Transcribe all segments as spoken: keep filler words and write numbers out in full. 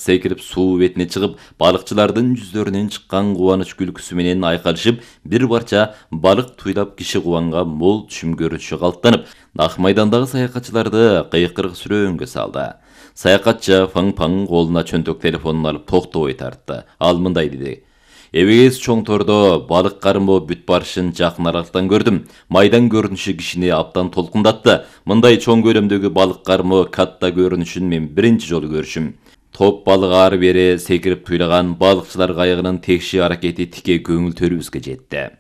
секирип суу бетине чыгып, балыкчылардын жүздөрүнөн чыккан кубаныч күлкүсү менен айкалышып, бир барча балык туйлап киши кубанга мол түшүм көрүшү калыптанып, Ак майдандагы саякатчыларды кыйкырык сүрөөнгө салды. Саякатчы Фаң-Фаң колуна чөнтөк телефонун алып токтобой тартты. Ал мындай деди: "Эбегес чоң тордо балык кармоо бүт барышын жакын аралыктан көрдүм. Майдан көрүнүшү кишини абдан толкундатты. Мындай чоң көлөмдөгү балык кармоо катта көрүнүшүн мен биринчи жолу көрүшүм. Топ балык ары бери секирип туйлаган балыкчылар кайыгынын текши аракети тике көңүлтөрүбүзгө жетти.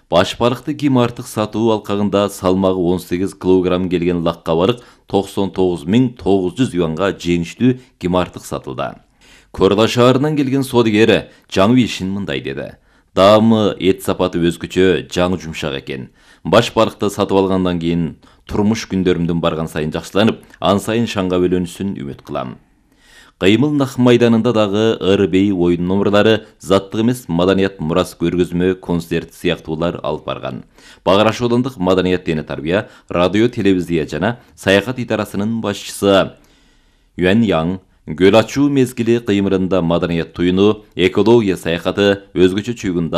Баш балыкты ким артык сатуу алкагында салмагы он сегиз килограмм келген лакка балык токсон тогуз миң тогуз жүз юанга жеңиштүү ким артык сатылды. Корла шаарынан келген содигер жаңы ишин мындай деди: "Даамы эт сапаты өзгөчө, жаңы жумшак экен. Баш балыкты сатып алгандан кийин турмуш күндөрүмдүн барган сайын жакшыланып, ан сайын шаңга бөлөнүшүн үмүт кылам." Кыймыл Ак майданында дагы ыр-бей оюн номерлары, заттык эмес маданият мурас көргөзмө, концерт сыяктуулар алып барган. Баграш аудандык маданият дене тарбия, радио, телевизия жана саякат идарасынын башчысы Юан Яң көл ачуу мезгили кыймырында маданият туюну, экология саякаты, өзгөчө чүйгүн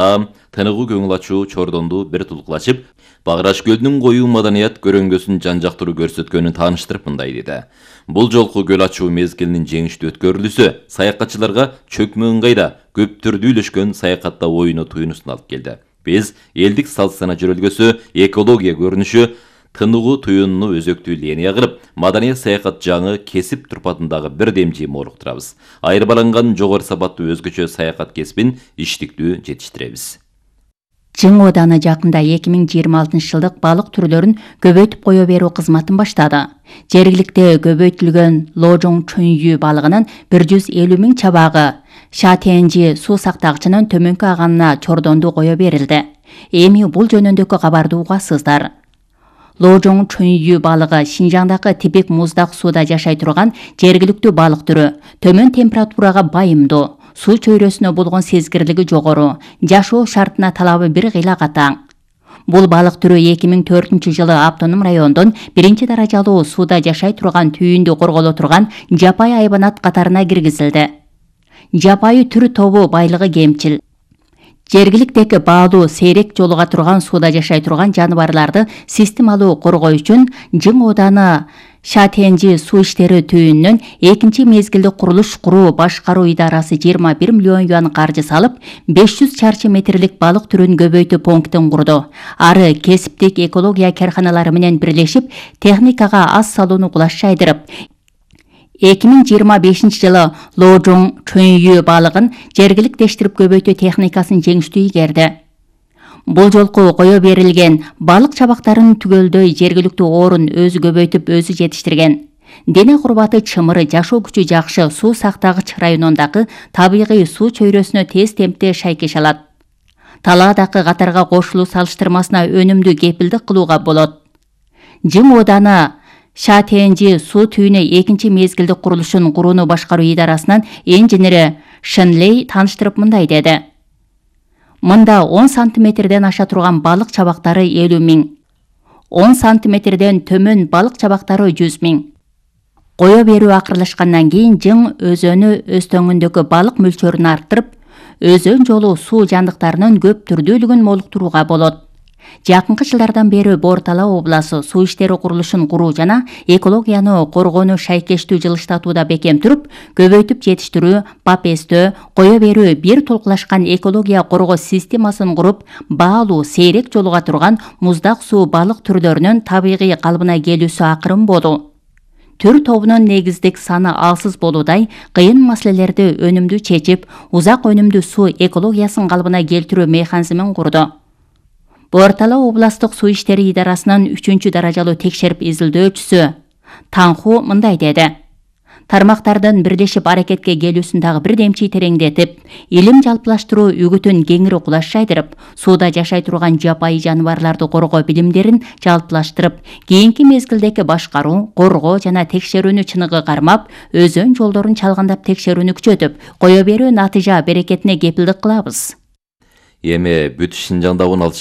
тыныгуу көңүл ачуу чордонду бир тулкулачып, Баграш көлүнүн коюу маданият көрөңгөсүн жан жактыруу көрсөткөнүн тааныштырып мындай деди: "Бул жолку көл ачуу мезгилинин жеңиштүү өткөрүлүүсү саякатчыларга чөкмө ыңгайда көп түрдүү үйлөшкөн саякатта оюну туюнусун алып келди. Биз элдик салт сана жөрөлгөсү, экология көрүнүшү, тыныгуу туюнуну өзөктүү линия кылып, маданият саякат жаңы кесип турпатындагы бир демжи молуктурабыз. Айырбаланган жогору сапаттуу өзгөчө саякат кесибин иштиктүү жетиштиребиз." Жың ооданы жакында эки миң жыйырма алтынчы жылдык балык түрлөрүн көбөйтүп кое берүү кызматын баштады. Жергиликте көбөйтүлгөн Ложоң чөйүү балыгынын бир жүз элүү миң чабагы Шатенжи суу сактагычынын төмөнкү аганына чордонду кое берилди. Эми бул жөнүндөгү кабарды угасыздар. Ложоң чөйүү балыгы Шинжаңдагы типик муздак сууда жашай турган жергиликтүү балык түрү, төмөн температурага байымдуу, суу чөйрөсүнө болгон сезгирлиги жогору, жашоо шартына талабы бир кыйла катаң. Бул балык түрү эки миң төртүнчү жылы автоном райондун биринчи даражалуу сууда жашай турган түйүндү корголо турган жапайы айбанат катарына киргизилди. Жапайы түр тобу байлыгы кемчил. Жергиликтеги баалуу сейрек жолуга турган сууда жашай турган жаныбарларды системалуу коргоо үчүн Жың ооданы Шатенжи суу иштери түйүнүнөн экинчи мезгилди курулуш куруу башкаруу идарасы жыйырма бир миллион юан каржы салып, беш жүз чарчы метрлик балык түрүн көбөйтүү пунктин курду. Ары кесиптик экология карканалары менен бирлешип, техникага аз салууну кулаш жайдырып, эки миң жыйырма бешинчи жылы Ложоң чөйүү балыгын жергиликтештирип көбөйтүү техникасын жеңиштүү ийгерди. Бул жолку кое берилген балык чабактарын түгөлдөй жергиликтүү орун өзү көбөйтүп өзү жетиштирген. Дене курбаты чымыры, жашоо күчү жакшы суу сактагыч районундагы табигый суу чөйрөсүнө тез темпте шайкеш алат. Талаадагы катарга кошулуу салыштырмасына өнүмдүү кепилдик кылууга болот. Жың ооданы Шатенжи суу түйүнү экинчи мезгилди курулушун курууну башкаруу идарасынын инженери Шенлей тааныштырып мындай деди: "Мында он сантиметрден аша турган балык чабактары элүү миң, он сантиметрден төмөн балык чабактары жүз миң. Кое берүү акырлашкандан кийин Жың өзөнү өстөңүндөгү балык мөлчөрүн арттырып, өзөн жолу суу жандыктарынын көп түрдүүлүгүн молуктурууга болот. Жакынкы жылдардан бери Бор-Тала областы суу иштери курулушун куруу жана экологияны коргоону шайкештүү жылыштатууда бекем туруп, көбөйтүп жетиштирүү, бап эстөө, кое берүү бир толкулашкан экология коргоо системасын куруп, баалуу сейрек жолуга турган муздак суу балык түрлөрүнүн табигый калыбына келүүсү акырын болду. Түр тобунун негиздик саны алсыз болуудай, кыйын маселелерди өнүмдүү чечип, узак өнүмдүү суу экологиясын калыбына келтирүү механизмин курду. Бор-Тала областык суу иштери идарасынын үчүнчү даражалуу текшерип изилдөөчүсү Таңху мындай деди: "Тармактардын бирлешип аракетке келүүсүн дагы бир демчи тереңдетип, илим жалпылаштыруу үгүтүн кеңири кулаш жайдырып, сууда жашай турган жапайы жаныбарларды коргоо билимдерин жалпылаштырып, кийинки мезгилдеги башкаруу, коргоо жана текшерүүнү чыныгы кармап, өзөн жолдорун чалгандап текшерүүнү күчөтүп, кое берүү натыйжа берекетине кепилдик кылабыз." Эми бүт Шинжаңда он алты